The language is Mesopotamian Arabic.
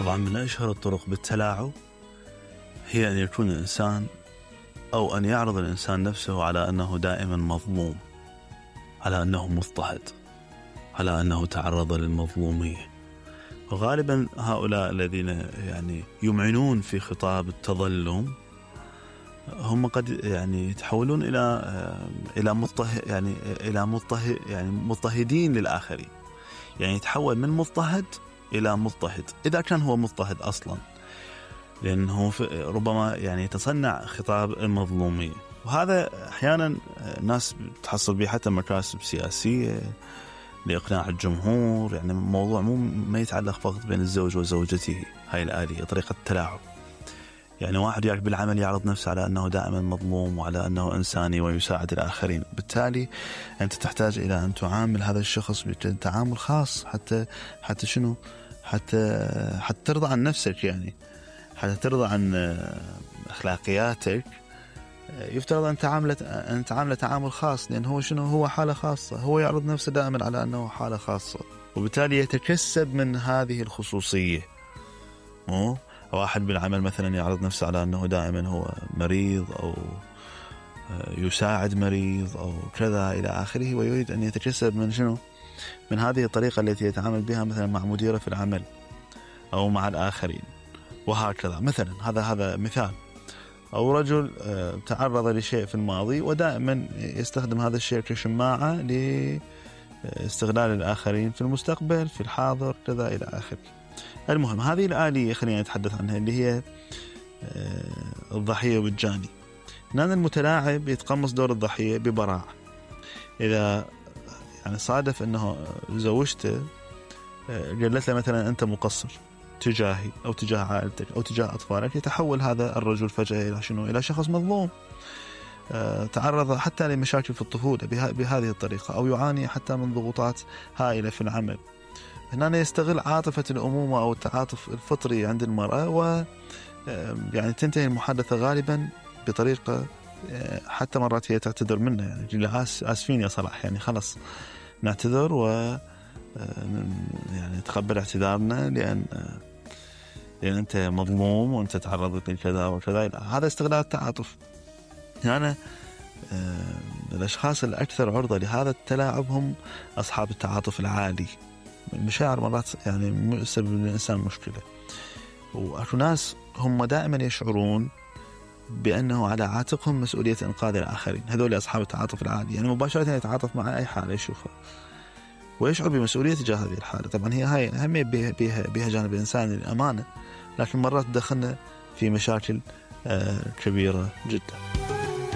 طبعا من أشهر الطرق بالتلاعب هي أن يكون الإنسان أو أن يعرض الإنسان نفسه على أنه دائما مظلوم، على أنه مضطهد، على أنه تعرض للمظلومية. وغالبا هؤلاء الذين يعني يمعنون في خطاب التظلم هم قد يعني يتحولون إلى مضطهدين للآخرين. يعني يتحول من مضطهد إلى مضطهد إذا كان هو مضطهد أصلا، لأنه ربما يعني يتصنع خطاب المظلومية. وهذا أحيانا الناس تحصل به حتى مكاسب سياسية لإقناع الجمهور. يعني موضوع ما يتعلق فقط بين الزوج وزوجته، هاي الآلية طريقة التلاعب. يعني واحد يعرف بالعمل يعرض نفسه على أنه دائما مظلوم وعلى أنه إنساني ويساعد الآخرين. بالتالي أنت تحتاج إلى أن تعامل هذا الشخص بتعامل خاص حتى شنو؟ حتى ترضى عن نفسك، يعني حتى ترضى عن أخلاقياتك. يفترض أن تعامل تعامل خاص، لأن هو شنو؟ هو حالة خاصة، هو يعرض نفسه دائما على أنه حالة خاصة، وبالتالي يتكسب من هذه الخصوصية. واحد بالعمل مثلا يعرض نفسه على أنه دائما هو مريض أو يساعد مريض أو كذا إلى آخره، ويريد أن يتكسب من شنو؟ من هذه الطريقة التي يتعامل بها مثلا مع مديره في العمل أو مع الآخرين، وهكذا. مثلا هذا مثال. أو رجل تعرض لشيء في الماضي ودائما يستخدم هذا الشيء كشماعة لاستغلال الآخرين في المستقبل، في الحاضر، كذا إلى آخره. المهم هذه الآلية خلينا نتحدث عنها، اللي هي الضحية والجاني. هنا المتلاعب يتقمص دور الضحية ببراعة. إذا يعني صادف أنه زوجته قالت له مثلا أنت مقصر تجاهي أو تجاه عائلتك أو تجاه أطفالك، يتحول هذا الرجل فجأة إلى شنو؟ إلى شخص مظلوم. تعرض حتى لمشاكل في الطفولة بهذه الطريقة، أو يعاني حتى من ضغوطات هائلة في العمل. هنا يستغل عاطفة الأمومة أو التعاطف الفطري عند المرأة، و يعني تنتهي المحادثة غالبا بطريقة حتى مرات هي تعتذر منه، يعني آسفين يا صلاح، يعني خلص نعتذر و يعني تقبل اعتذارنا لأن أنت مظلوم وأنت تعرضت لكذا وكذا. هذا استغلال التعاطف. يعني الأشخاص الأكثر عرضة لهذا التلاعب هم أصحاب التعاطف العالي. المشاعر مرات يعني يسبب للإنسان مشكلة. وأكو ناس هم دائما يشعرون بأنه على عاتقهم مسؤولية إنقاذ الآخرين. هذول أصحاب التعاطف العالي، يعني مباشرة يتعاطف مع أي حالة يشوفها ويشعر بمسؤولية تجاه هذه الحالة. طبعا هاي أهمية بها جانب الإنسان الأمانة، لكن مرات تدخلنا في مشاكل كبيرة جدا.